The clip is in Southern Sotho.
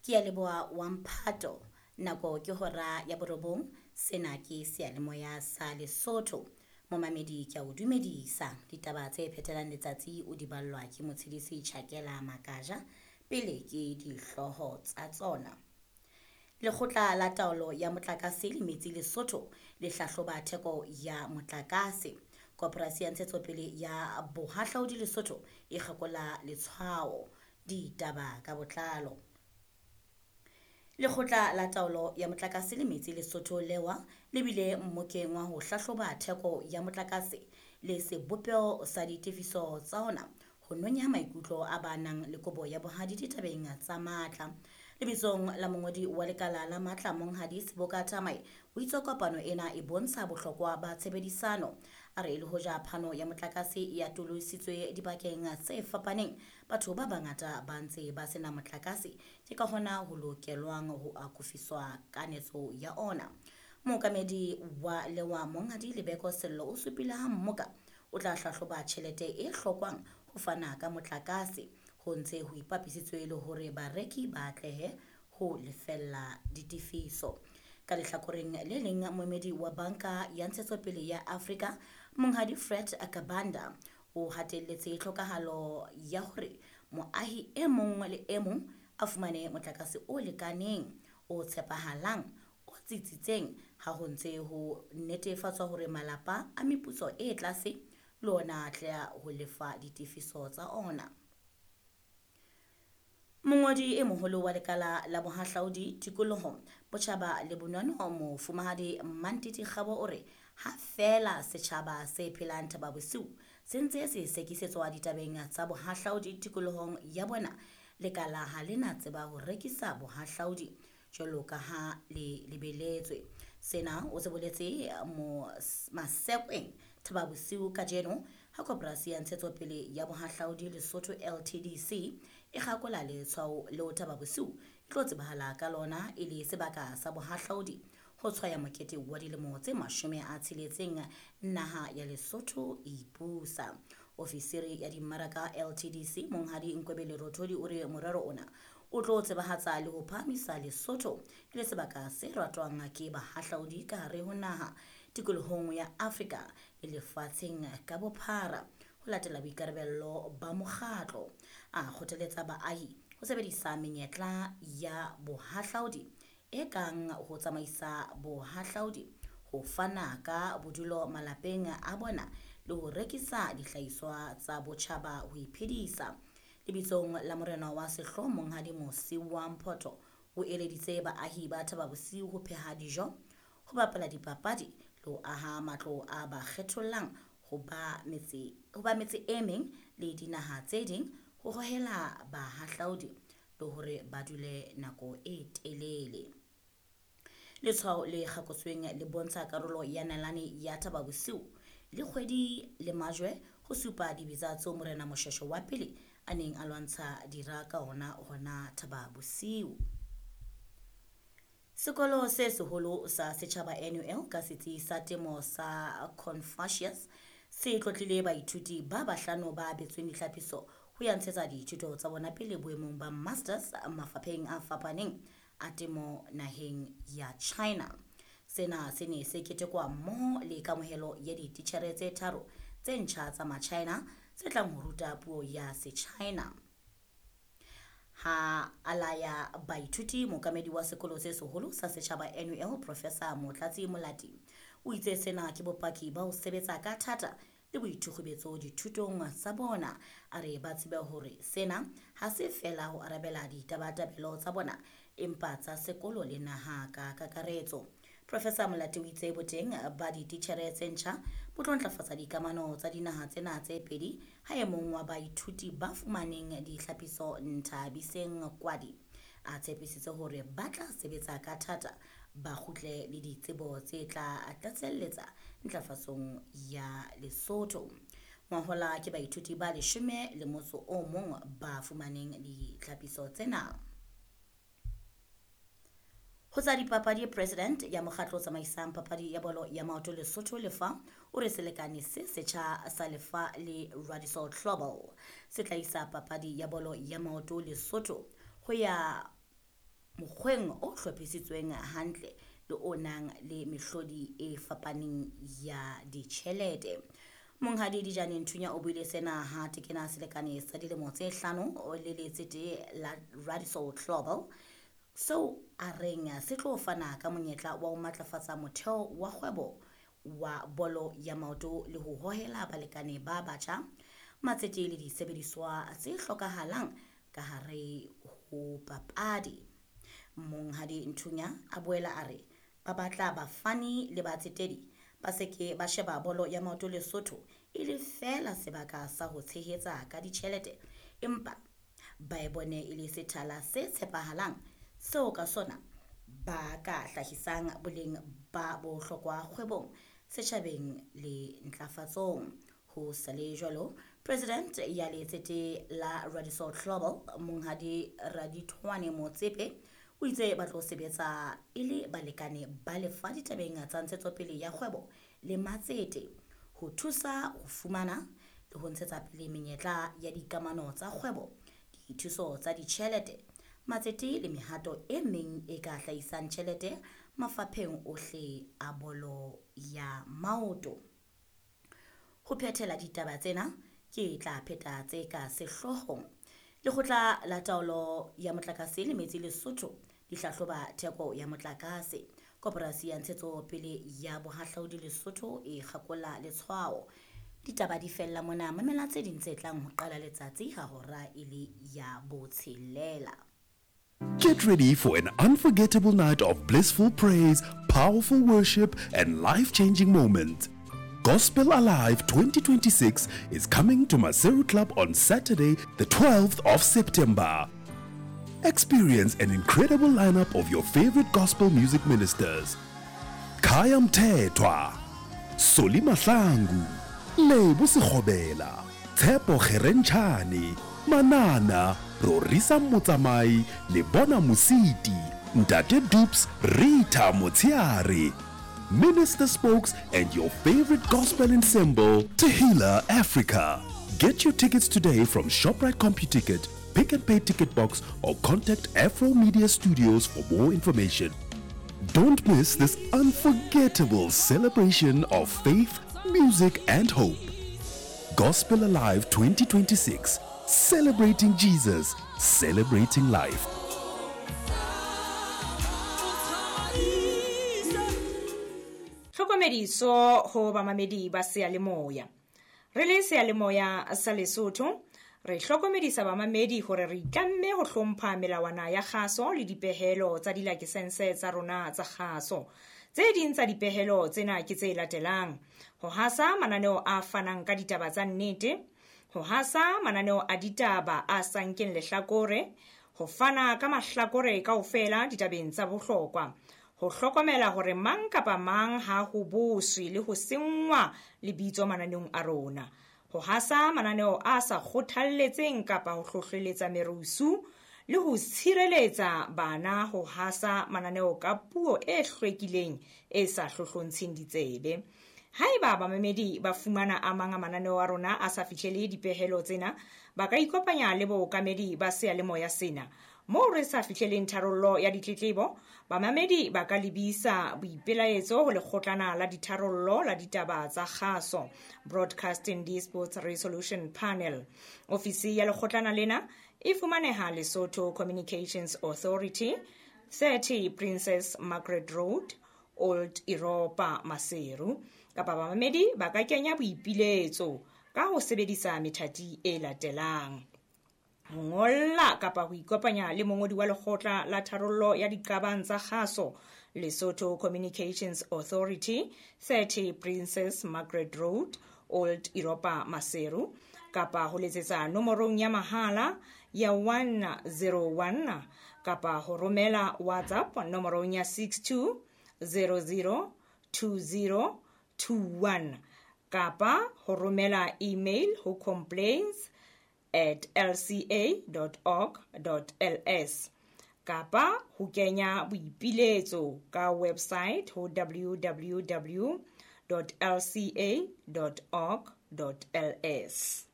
Ke a leboha wa mphato. Nako ke hora ya borobong. Sena ke seyalemoya sa Lesotho. Momamedi ke a o dumedisa. Ditaba tse phethelang letsatsi o di ballwa ke motshedisi Tjhakela Makaja. Pele ke dihlooho tsa tsona. Lekgotla la taolo ya motlakase le metsi Lesotho le hlahloba theko ya motlakase. Koporasi ya ntshetsopele ya bohahlaudi Lesotho e kgakola letshwao. Ditaba ka botlalo. Lekgotla la taolo ya motlakase le metsi Lesotho lewa le bile mmokeng wa ho hlahloba theko ya motlakase le sebopeho sa ditefiso tsa ona ho nonya maikutlo a ba nang le kobo ya bohadi ditabeng tsa matla. Lebitsong la mongodi wa lekala la matla Monghadi Seboka Thamae o itse kopano ena e bontsha bohlokwa ba tshebedisano. A re le hoja phano ya motlakase e atolositswe dibakeng tse fapaneng, batho ba bangata ba ntse ba sena motlakase, ke ka hona ho lokelwang ho akofiswa kanetso ya ona. Mookamedi wa lewa Monghadi Lebeko Sello o supile ha mmoka o tla hlahloba tjhelete e hlokwang ho fana ka motlakase ho ntse ho ipapisitswe le hore bareki ba atlehe ho lefella ditefiso. Ka lehlakoreng le leng moemedi wa banka ya ntshetsopele ya Afrika Monghadi Fred Akabanda o hatelletse tlhokahalo ya hore moahi e mong le e mong a fumane motlakase o lekaneng, o tshepahalang, o tsitsitseng ha ho ntse ho netefatswa hore malapa a meputso e tlase le ona a atleha ho lefa ditefiso tsa ona. Mongodi e moholo wa lekala la bohahlaudi, tikoloho, botjhaba le bonono Mofumahadi Mantiti Kgabo o re ha feela setjhaba se phelang Thaba Bosiu se ntse se sekisetswa ditabeng tsa bohahlaudi tikolohong ya bona, lekala ha le na tseba ho rekisa bohahlaudi jwalo ka ha le lebeletswe. Sena o se boletse Masekweng Thaba Bosiu kajeno ha koporasi ya ntshetsopele ya bohahlaudi Lesotho LTDC e kgakola letshwao leo Thaba Bosiu e tlo tsebahala ka lona e le sebaka sa bohahlaudi ho tshwaya mokete wa dilemo tse 60 naha ya Lesotho e ipusa. Ofisiri ya dimmaraka LTDC Monghadi Nkwebele Rothodi o re morero ona o tlo tsebahatsa le ho phahamisa Lesotho e le sebaka se ratwang ke bahahlaudi ka hare ho naha tikolohong ya Afrika le lefatsheng ka bophara ho latela boikarabello ba mokgatlo. A kgothaletsa baahi ho sebedisa menyetla ya bohahlaudi e kang ho tsamaisa bohahlaudi, ho fana ka bodulo malapeng a bona le ho rekisa dihlahiswa tsa botjhaba ho iphedisa. Lebitsong la morena wa sehlooho Monghadi Mosiuwa Mphotho o eleditse baahi ba Thaba Bosiu ho pheha dijo, ho bapala dipapadi le ho aha matlo a ba kgethollang ho ba metse e meng le dinaha tse ding ho hohela bahahlaudi le hore ba dule nako e telele. Letshwao le kgakotsweng le bontsha karolo ya nalane ya Thaba Bosiu le kgwedi le majwe ho supa dibetsa tseo Morena Moshweshwe wa pele a neng a lwantsha dira ka ona hona Thaba Bosiu. Sekolo se seholo sa setjhaba NUL ka setsi sa temo sa Confucius se tlotlile baithuti ba bahlano ba abetsweng ditlhapiso ho ya ntshetsa dithuto tsa bona pele boemong ba masters mafapheng a fapaneng a temo naheng ya China. Sena se ne se ketekwa mmoho le kamohelo ya dititjhere tse 3 tse ntjha tsa ma-China tse tlang ho ruta puo ya se-China. Ha alaya baithuti mookamedi wa sekolo se seholo sa setjhaba NUL Professor Motlatsi Molati o itse sena ke bopaki ba ho sebetsa ka thata le boithukgubetso dithutong tsa bona. A re ba tsebe hore sena ha se fela ho arabela ditabatabelo tsa bona empa tsa sekolo le naha ka kakaretso. Professor Molati o itse boteng ba dititjhere tse ntjha bo tlo ntlafatsa dikamano tsa dinaha tsena tse pedi ha e mong wa baithuti ba fumaneng ditlhapiso Nthabiseng Kwadi a tshepisitse hore ba tla sebetsa ka thata ba kgutle le ditsebo tse tla tlatselletsa ntlafatsong ya Lesotho. Ngwahola ke baithuti ba 11 ba fumaneng ditlhapiso tsena. Ho tsa dipapadi, president ya mokgatlo o tsamaisang papadi ya bolo ya maoto Lesotho Lefa o re selekane se setjha sa Lefa le Radisson Global se tla isa papadi ya bolo ya maoto Lesotho ho ya mokgweng o hlophisitsweng hantle le o nang le mehlodi e fapaneng ya ditjhelete. Monghadi Dijane Nthunya o buile sena ha tekena selekane sa dilemo tse 5 le letsete la Radisol Global, seo a reng se tlo fana ka monyetla wa ho matlafatsa motheo wa kgwebo wa bolo ya maoto le ho hohela balekane ba batjha, matsete le disebediswa tse hlokahalang ka hare ho papadi. Monghadi Nthunya a boela a re ba batla bafani le batsetedi ba se ke ba sheba bolo ya maoto Lesotho e le feela sebaka sa ho tshehetsa ka ditjhelete, empa ba e bone e le sethala se tshepahalang seo ka sona ba ka hlahisang boleng ba bohlokwa kgwebong, setjhabeng le ntlafatsong. Ho sa le jwalo, President ya letsete la Radisol Global, Monghadi Radithwane Motsepe, o itse ba tlo sebetsa e le balekane ba lefa ditabeng tsa ntshetsopele ya kgwebo le matsete ho thusa ho fumana le ho ntshetsa pele menyetla ya dikamano tsa kgwebo, dithuso tsa ditjhelete, matsete le mehato e meng e ka hlahisang tjhelete mafapheng ohle a bolo ya maoto. Ho phethela ditaba tsena ke tla pheta tse ka sehloohong. Lekgotla la taolo ya motlakase le metsi Lesotho di hlahloba theko ya motlakase. Koporasi ya ntshetsopele ya bohahlaudi Lesotho e kgakola letshwao. Ditaba di fella mona, mamela tse ding tse tlang ho qala letsatsi ha hora e le ya 6. Get ready for an unforgettable night of blissful praise, powerful worship, and life-changing moments. Gospel Alive 2026 is coming to Maseru Club on Saturday, the 12th of September. Experience an incredible lineup of your favorite gospel music ministers. Khaya Mthethwa, Solly Mahlangu, Lebo Sekgobela, Tshepo Kgerentshane, Manana, Rorisa Motsamai, Lebona Mositi, Ntate Dupes, Rita Motsiare, Minister Spokes, and your favorite gospel ensemble, Tehila Africa. Get your tickets today from ShopRite CompuTicket, Pick and Pay Ticket Box, or contact Afro Media Studios for more information. Don't miss this unforgettable celebration of faith, music, and hope. Gospel Alive 2026, celebrating Jesus, celebrating life. Tlhokomediso ho bamamedi ba seyalemoya. Re le seyalemoya sa Lesotho, re hlokomedisa bamamedi hore re itlamme ho hlompha melawana ya kgaso le dipehelo tsa dilakesense tsa rona tsa kgaso. Tse ding tsa dipehelo tsena ke tse latelang: ho hasa mananeo a fanang ka ditaba tsa nnete, ho hasa mananeo a ditaba a sa nkeng lehlakore, ho fana ka mahlakore kaofela ditabeng tsa bohlokwa, ho hlokomela hore mang kapa mang ha ho boswe le ho senngwa lebitso mananeong a rona, ho hasa mananeo a sa kgothalletseng kapa ho hlohleletsa merusu, le ho tshireletsa bana ho hasa mananeo ka puo e hlwekileng e sa hlohlontsheng ditsebe. Haeba bamamedi ba fumana a mang a mananeo a rona a sa fihlele dipehelo tsena, ba ka ikopanya le bookamedi ba seyalemoya sena. Moo re sa fihleleng tharollo ya ditletlebo, bamamedi ba ka lebisa boipelaetso ho lekgotlana la ditharollo la ditaba tsa kgaso, Broadcasting Disputes Resolution Panel. Ofisi ya lekgotlana lena e fumaneha Lesotho Communications Authority, 30 Princess Margaret Road, Old Europa, Maseru. Kapa bamamedi ba ka kenya boipiletso ka ho sebedisa methati e latelang: ho ngolla kapa ho ikopanya le mongodi wa lekgotla la tharollo ya diqabang tsa kgaso, Lesotho Communications Authority, 30 Princess Margaret Road, Old Europa, Maseru, kapa ho letsetsa nomorong ya mahala ya 101, kapa ho romela WhatsApp nomorong ya 62 00 20 21, kapa ho romela email ho complaints@lca.org.ls, kapa ho kenya boipiletso ka website ho www.lca.org.ls.